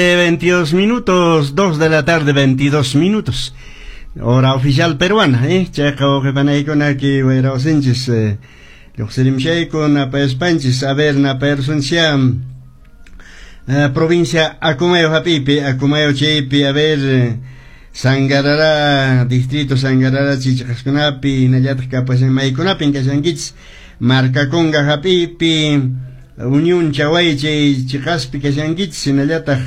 22 minutos, 2 de la tarde, 22 minutos. Hora oficial peruana, ¿eh? Chayqa wawqipanaykuna ki wayrawsinchis lluqsirimshayku napayaspanchis, a ver, napayarsunchya provincia Acomayo hap'ipi, Acomayo chaypi, a ver, Sangarará, distrito Sangarará chichqaskunapi, hinallataq kapashan maykunapin kashankichis, Marcaconga hap'ipi, Unión Chaway chay chiqaspi kashankichis, hinallataq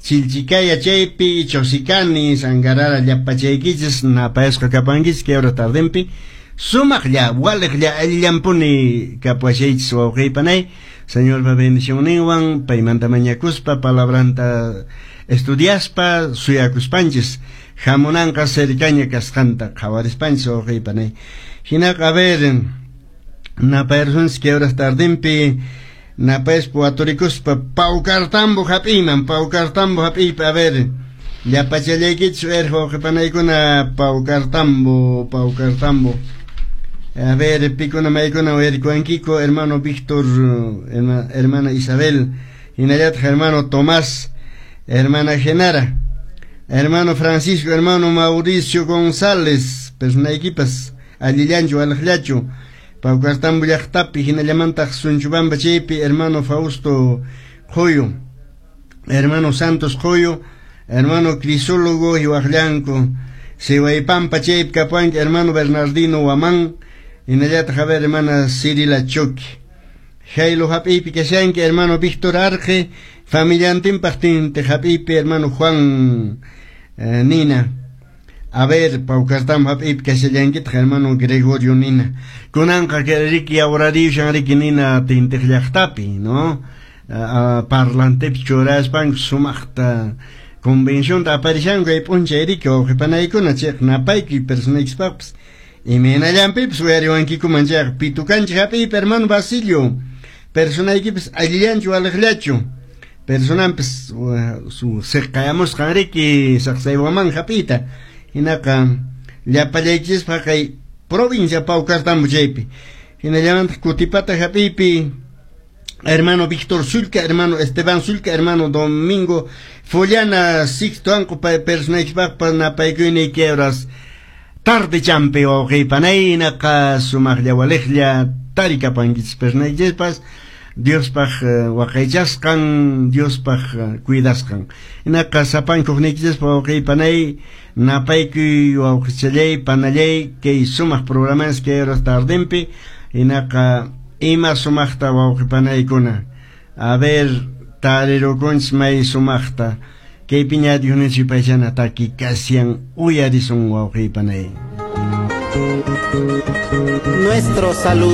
Chilchicaya chaypi, Chosicani, Sangarara llapachaykichis, napayasqa kapankichis kay hora tardempi, sumaqlla, waliqlla, allillampuni kapuashaychis wawqiypanay, Señorpa bendicionninwan, paymanta mañakuspa, palabranta estudiaspa, suyakuspanchis, hamunanqa cercaña kasqanta qhawarispanchis wawqiypanay. Hinaqa, a ver, napayarsunchis kay horas tardempi, napayaspa waturikuspa Paucartambo hap'iyman, Paucartambo hap'iypi, a ver, llapachallaykichis erqa wawqipanaykuna Paucartambo, Paucartambo. A ver, pikuna maykuna uyarikuwankiku, hermano Víctor, hermana Isabel, hinallataq hermano Tomás, hermana Genara, hermano Francisco, hermano Mauricio González, personaykipas allillanchu waliqllachu, Paucartambo llaqtapi, hinallamantaq Sunchubamba chaypi, hermano Fausto Qoyo, hermano Santos Qoyo, hermano Crisólogo Hiwaqllanku, Siwaypampa chaypi kapuanki, hermano Bernardino Huamán, hinallataq, a ver, hermana Cirila Choque. Jailo hap'ipi kashanki, hermano Víctor Arge, familiantinpaq tinte hap'ipi, hermano Juan Nina. A ver, Paucartambo hap'ipi kashallankitaq, hermano Gregorio Nina. Kunanqa riki yawrariyushan riki Nina tintiq llaqtapi, ¿no? Parlantepi churaspanku sumaqta convención aparishanku kay p'unchay riki wawqipanaykuna chayqa napaykuy personaykispaqpas imaynallanpipas uyariwankikuman chayqa pitukanchik hap'iypi hermano Basilio personaykipas allillanchu waliqllachu personanpas su siqayamusqan riki saqsaywaman hap'iyta hinaqa llapallaykichispaq kay provincia Paucartambo chaypi hinallamantaq Kutipata hap'iypi hermano Víctor Sulca, hermano Esteban Sulca, hermano Domingo Follana, Sixto Anco personaykispaqpas napaykuyni horas tarde champi wawqiypanay hinaqa sumaqlla waliqlla tarikapankichis personaykichispas Diospaq waqaychasqan, Diospaq cuidasqan. Hinaqa sapankuqniykichispa wawqiypanay napaykuy wawqichallay panallay kay sumaq programas kay horas tardempi hinaqa ima sumaqta wawqipanaykuna. A ver, tarirukunchis may sumaqta kaypiña Dionisio paychana taki kasian uyarisun wawqiypanay. Nuestro saludo.